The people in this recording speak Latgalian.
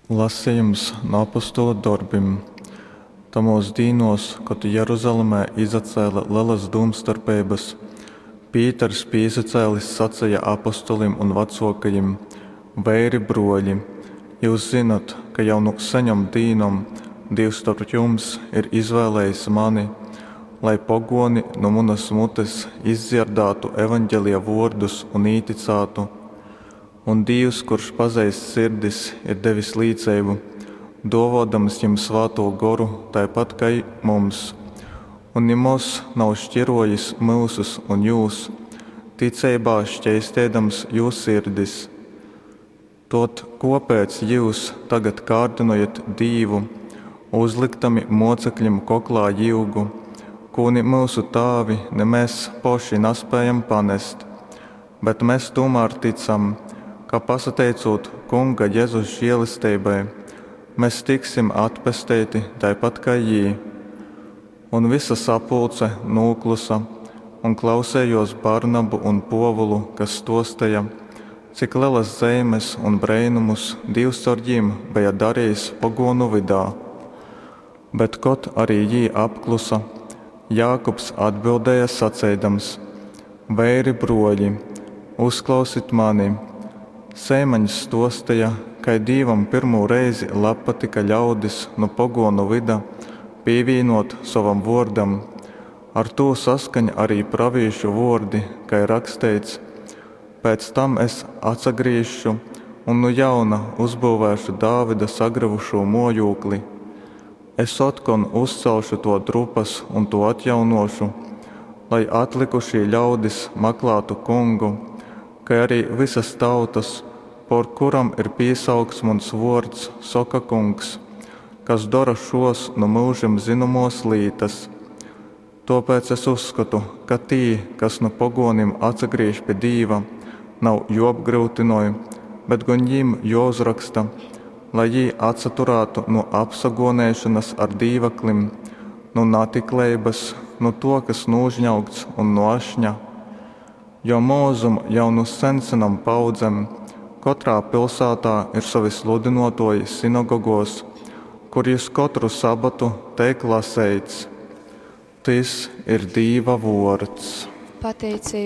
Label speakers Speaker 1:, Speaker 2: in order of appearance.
Speaker 1: Lasejums nu Apostolu dorbim. Tamōs dīnōs, kod Jeruzalemē izacēle lelas dūmstarpeibas, Pīters pīsacēlis saceja apostolim un vacōkajim, Veiri, brōļi, jyus zynot, ka jau nu seņom dīnom Dīvs storp jums ir izvēlējis mani, lai pogōni nu munas mutes izdzierdātu Evangelija vōrdus un ītycātu. Un Dīvs, kurš pazeist sirdis, ir devis līceibu, dōvōdams jim Svātū Goru taipat kai mums. Un nimoz nav škirōjis myusus un jūs, ticeibā škeisteidams jū sirdis. Tod kōpēc jyus tagad kārdynojat Dīvu, uzlykdami mōceklim koklā jyugu, kū ni myusu tāvi, ni mes poši naspējam panest? Bet mes tūmār tycam, ka pasateicūt Kunga Jezus želesteibai, mes tiksim atpesteiti taipat kai jī. Un vysa sapulce nūklusa un klausejōs Barnabu un Pōvulu, kas stōsteja, cik lelas zeimes un breinumus Dīvs caur jim beja darejis pogōnu vydā. Bet kod arī jī apklusa, Jākubs atbildēja saceidams, Veiri, brōļi, uzklausit mani! Seimaņs stōsteja, kai Dīvam pyrmū reizi labpatyka ļaudis nu pogōnu vyda pīvīnōt sovam vōrdam. Ar tū saskaņ arī pravīšu vōrdi, kai ir raksteits, Pēc tam es atsagrīzšu un nu jauna uzbyuvēšu Dāvida sagrōvušū mōjūkli. Es otkon uzcelšu tō drupas un tū atjaunōšu, lai atlykušī ļaudis maklātu Kungu, kai arī vysas tautas, pōr kurom ir pīsaukts muns vōrds, soka Kungs, kas dora šōs nu myužim zynomōs lītas. Tōpēc es uzskotu, ka tī, kas nu pogōnim atsagrīž pi Dīva, nav jōapgryutynoj, bet gon jim jōuzroksta, lai jī atsaturātu nu apsagōneišonas ar dīvaklim, nu natikleibas, nu tō, kas nūžņaugts un nu ašņa. Jo Mozum jau nu sensenom paudzem kotrā pilsātā ir sovi sludynōtōji synagogōs, kur jys kotru sabotu teik laseits. Tys ir Dīva vōrds.
Speaker 2: Pateiceiba.